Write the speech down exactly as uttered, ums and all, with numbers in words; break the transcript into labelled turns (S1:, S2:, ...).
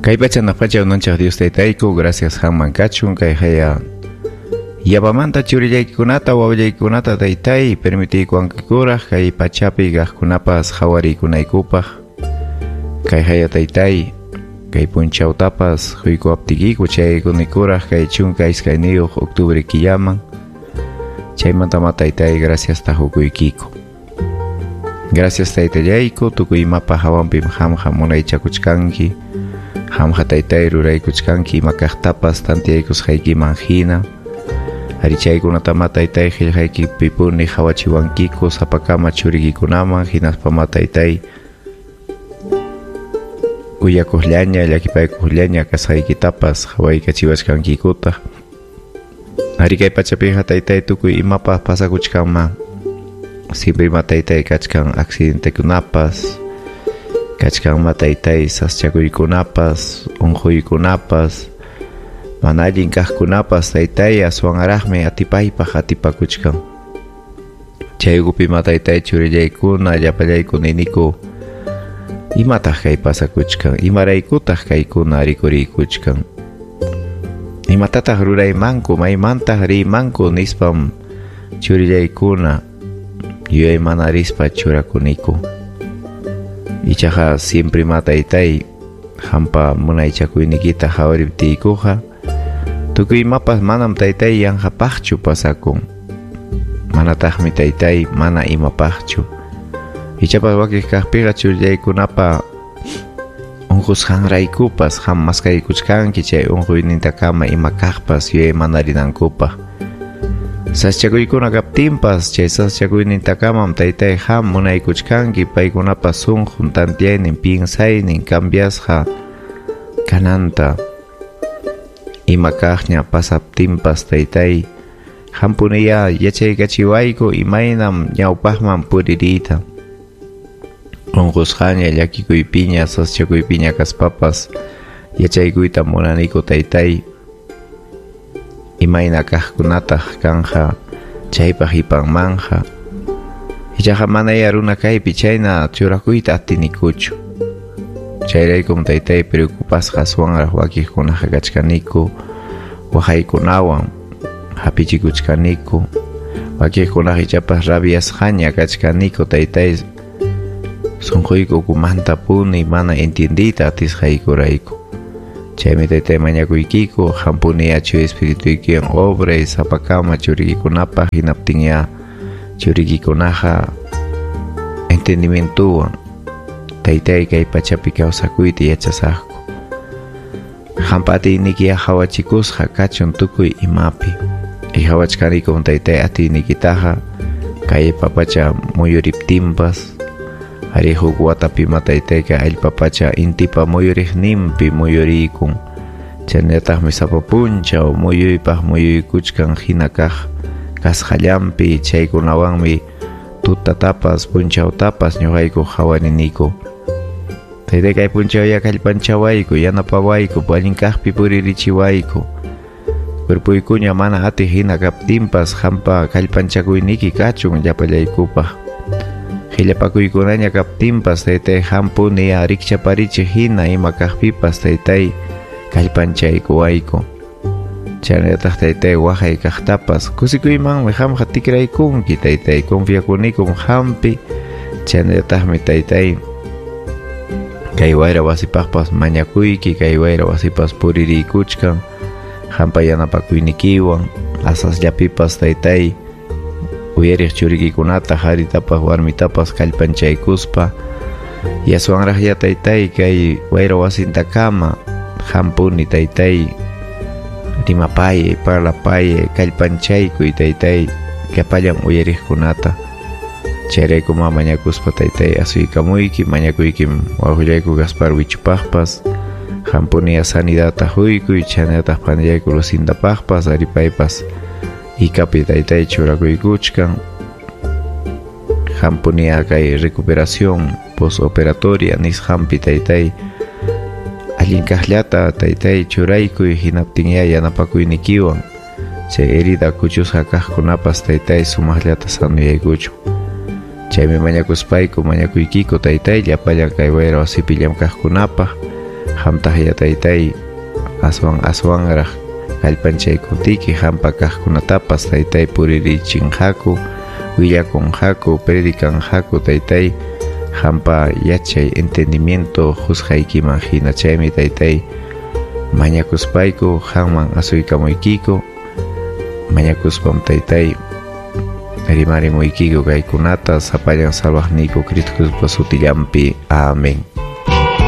S1: Kay pacha hanaq pacha unanchaq Dios taytayku, gracias qamman kachun kay haya yapamanta churillaykikunata wawallaykikunata taytay permitiykuwankikuraq kay pachapi kaqkunapas qhawariykunaykupaq kay haya taytay kay punchawtapas huykuwaptiykiku chaykunikuraq kay chunka iskayniyuq octubre killaman chaymantama taytay gracias tahukuykiku. Gracias taytallayku tukuy imapa hawanpim qamqa munaychakuchkanki qamqa taytay ruraykuchkanki ima kaqtapas tantiyaykusqaykiman hina. Ari chaykunatama taytay qillqaykipipuni qhawachiwankiku sapakama churikikunaman hinaspama taytay kuyakuqllaña llakipaykuqllaña kasqaykitapas qhawaykachiwachkankikutaq. Ari kay pachapiqa taytay tukuy imapas pasakuchkanman siempre ima taytay kachkan accidentekunapas kachkanma taytay saschakuykunapas unquykunapas mana allin kaqkunapas taytay aswanraqmi atipaypaq atipakuchkan. Chay ukupi ma taytay churillaykuna llapallayku niniku imataq kay pasakuchkan imaraykutaq kaykuna rikuriykuchkan imatataq ruraymanku maymantaq riymanku nispam churillaykuna yuyaymanarispa churakuniku. Ichaqa siempre ma taytay qampa munaychakuynikita qhawariptiykuqa tukuy imapas manam taytay yanqapaqchu pasakun manataqmi taytay mana imapaqchu. Ichapas wakiq kaqpiqa churillaykunapa unqusqanraykupas qam maskaykuchkanki chay unquynintakama ima kaqpas yuyaymanarinankupaq. Saschakuykuna kaptinpas chay saschakuynintakamam taytay qam munaykuchkanki paykunapa sunqun tantiyaynin piensaynin cambiasqa kananta. Ima kaqña pasaptinpas taytay qampuniya yachaykachiwayku imaynam ñawpaqman puririyta. Unqusqaña llakikuypiña saschakuypiña kaspapas yachaykuyta munaniku taytay imayna kaqkunataq kanja chaypaq ipanmanja. Ichaqa manaya runa kaypi chayna churakuyta atinikuchu. Chayraykum taytay preocupasqa aswanraq wakiqkunaqa kachkaniku waqaykunawan hapichikuchkaniku wakiqkunaqa ichapas rabiasqaña kachkaniku taytay sunquyku ukumanta puni mana entiendiyta atisqaykurayku. Chaymi taytay mañakuykiku qampuni achu espirituykiwan obray sapakama churikikunapaq hinaptinya churikikunaqa entendimientowan taytay kay pachapi kawsakuyta yachasaqku. Qampa atiynikiya qhawachikusqa kachun tukuy imapi. Qhawachkanikum taytay atiynikitaqa kay papacha muyuriptinpas ari huk watapi ma taytay kay allpa pacha intipa muyuriqninpi muyuriykun chaynataqmi sapa punchaw muyuypaq muyuykuchkan hina kaq kasqallanpi chaykunawanmi tutatapas punchawtapas ñuqayku qhawariniku. Taytay kay punchawya kallpanchawayku yanapawayku allin kaqpi puririchiwayku. Cuerpuykuña mana atiq hina kaptinpas qampa kallpanchakuyniki kachun llapallaykupaq. Qillapakuykunaña kaptinpas taytay qampuni rikchaparichiq hina ima kaqpipas taytay kallpanchaykuwayku. Chaynallataq taytay waqay kaqtapas kusikuymanmi qamqa tikraykunki taytay confiakunikum qampi. Chaynallataqmi taytay kay wayra wasipaqpas mañakuyki kay wayra wasipas puririykuchkan qampa yanapakuynikiwan asasllapipas taytay uyariq churikikunata qaritapas warmitapas kallpanchaykuspa yaswanraqya taytay kay wayra wasintakama qampuni taytay rimapayay parlapayay kallpanchaykuy taytay llapallan uyariqkunata. Chayraykuma mañakuspa taytay asuykamuyki mañakuykim wawqillayku Gaspar Wichupaqpas qampuni sanidadta huykuy chaynallataq panillayku Lucindapaqpas aripaypas ikapi taytay churakuykuchkan qampuni kay recuperación postoperatoria nisqanpi taytay allin kaqllata taytay churaykuy hinaptinya yanapakuynikiwan chay herida kuchusqa kaqkunapas taytay sumaqllata sanuyaykuchun. Chaymi mañakuspayku mañakuykiku taytay llapallan kay wayra wasipi llamkaqkunapaq Qamtaq ya taytay aswan aswanraq kallpanchaykuptiki hampa kaqkunatapas taytay puririchinqaku, willakunqaku, predicanqaku taytay hampa yachay entendimiento qusqaykiman hina. Chaymi taytay mañakuspayku qamman asuykamuykiku, mañakuspam taytay rimarimuykiku kaykunata sapallan salvaqniyku Cristo Jesuspa sutillanpi. Amén.